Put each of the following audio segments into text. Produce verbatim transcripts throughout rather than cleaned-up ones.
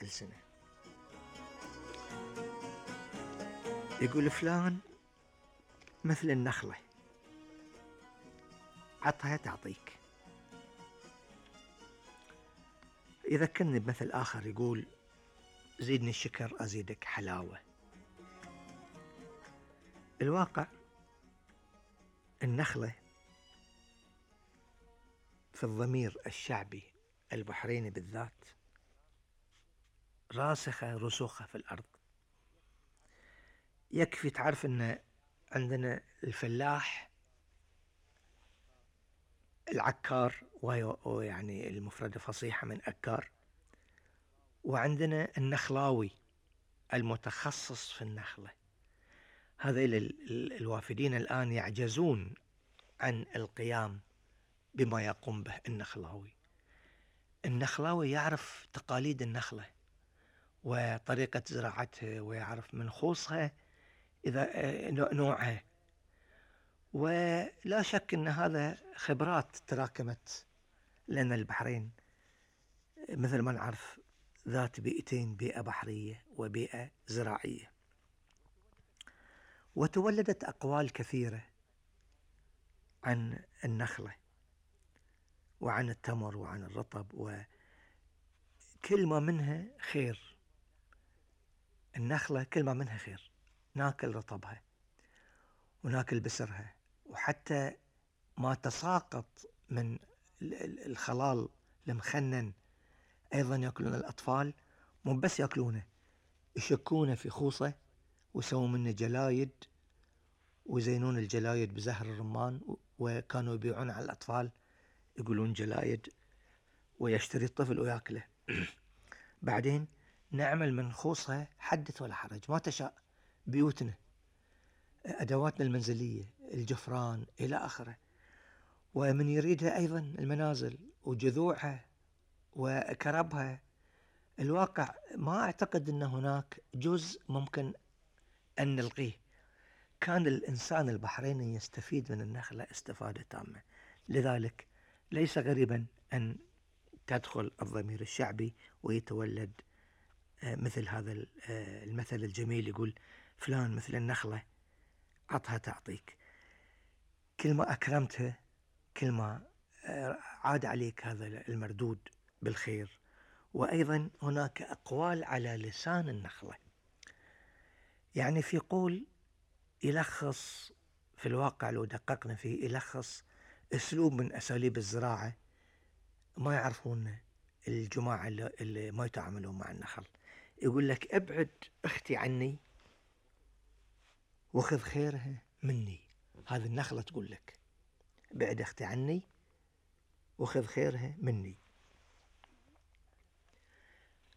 كل سنة. يقول فلان مثل النخلة، عطها تعطيك. يذكرني بمثل آخر يقول زيدني الشكر أزيدك حلاوة. الواقع النخلة في الضمير الشعبي البحريني بالذات راسخة رسوخة في الأرض. يكفي تعرف أن عندنا الفلاح، العكار ويعني المفردة فصيحة من أكار، وعندنا النخلاوي المتخصص في النخلة. هذيل الوافدين الآن يعجزون عن القيام بما يقوم به النخلاوي. النخلاوي يعرف تقاليد النخلة وطريقة زراعتها، ويعرف من خوصها إذا نوعها، ولا شك أن هذا خبرات تراكمت، لأن البحرين مثل ما نعرف ذات بيئتين، بيئة بحرية وبيئة زراعية. وتولدت أقوال كثيرة عن النخلة وعن التمر وعن الرطب، وكل ما منها خير. النخلة كل ما منها خير، ناكل رطبها وناكل بسرها، وحتى ما تساقط من الخلال المخنن أيضا يأكلون الأطفال. مو بس يأكلونه، يشكونه في خوصة ويسوون منه جلايد، ويزينون الجلايد بزهر الرمان، وكانوا يبيعون على الأطفال يقولون جلايد، ويشتري الطفل ويأكله. بعدين نعمل من خوصها حدث ولا حرج ما تشاء، بيوتنا، أدواتنا المنزلية، الجفران إلى آخره. ومن يريدها أيضا المنازل وجذوعها وكربها. الواقع ما أعتقد أن هناك جزء ممكن أن نلغيه. كان الإنسان البحريني يستفيد من النخلة استفادة تامة، لذلك ليس غريبا أن تدخل الضمير الشعبي ويتولد مثل هذا المثل الجميل، يقول فلان مثل النخلة عطها تعطيك. كل ما أكرمتها كل ما عاد عليك هذا المردود بالخير. وأيضا هناك أقوال على لسان النخلة، يعني في قول يلخص في الواقع لو دققنا فيه، يلخص أسلوب من أساليب الزراعة ما يعرفون الجماعة اللي ما يتعاملون مع النخل. يقول لك ابعد اختي عني وخذ خيرها مني. هذه النخلة تقول لك ابعد اختي عني وخذ خيرها مني.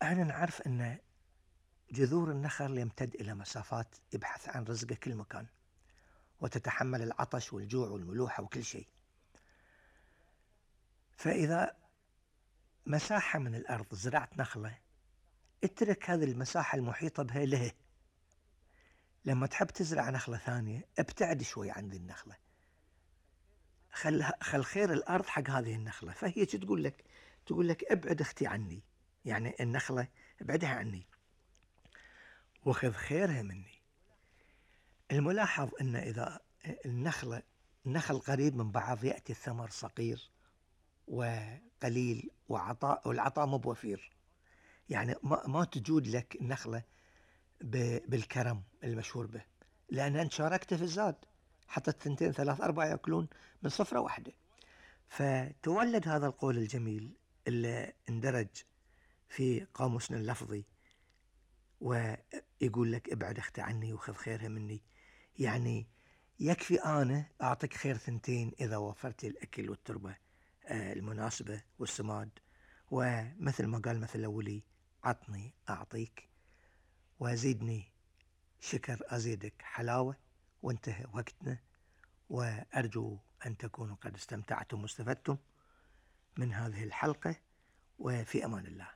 احنا نعرف ان جذور النخل يمتد الى مسافات، يبحث عن رزقه كل مكان، وتتحمل العطش والجوع والملوحة وكل شيء. فإذا مساحة من الأرض زرعت نخلة، اترك هذه المساحة المحيطة بها له. لما تحب تزرع نخلة ثانية ابتعد شوي عن ذي النخلة، خل خل خير الأرض حق هذه النخلة. فهي تقول لك تقول لك ابعد اختي عني، يعني النخلة ابعدها عني وخذ خيرها مني. الملاحظ أن إذا النخلة النخل قريب من بعض يأتي الثمر صغير وقليل، وعطاء والعطاء مو بوفير. يعني ما, ما تجود لك النخلة بالكرم المشهور به، لأن أنت شاركت في الزاد، حتى الثنتين ثلاث أربعة يأكلون من صفرة واحدة. فتولد هذا القول الجميل اللي اندرج في قاموسنا اللفظي، ويقول لك ابعد اختي عني وخذ خيرها مني. يعني يكفي أنا أعطيك خير ثنتين إذا وفرت الأكل والتربة المناسبة والسماد. ومثل ما قال مثل الأولي عطني أعطيك وزيدني شكر أزيدك حلاوة. وانتهى وقتنا، وأرجو أن تكونوا قد استمتعتم واستفدتم من هذه الحلقة، وفي أمان الله.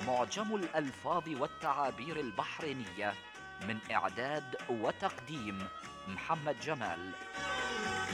معجم الألفاظ والتعابير البحرينية، من إعداد وتقديم محمد جمال.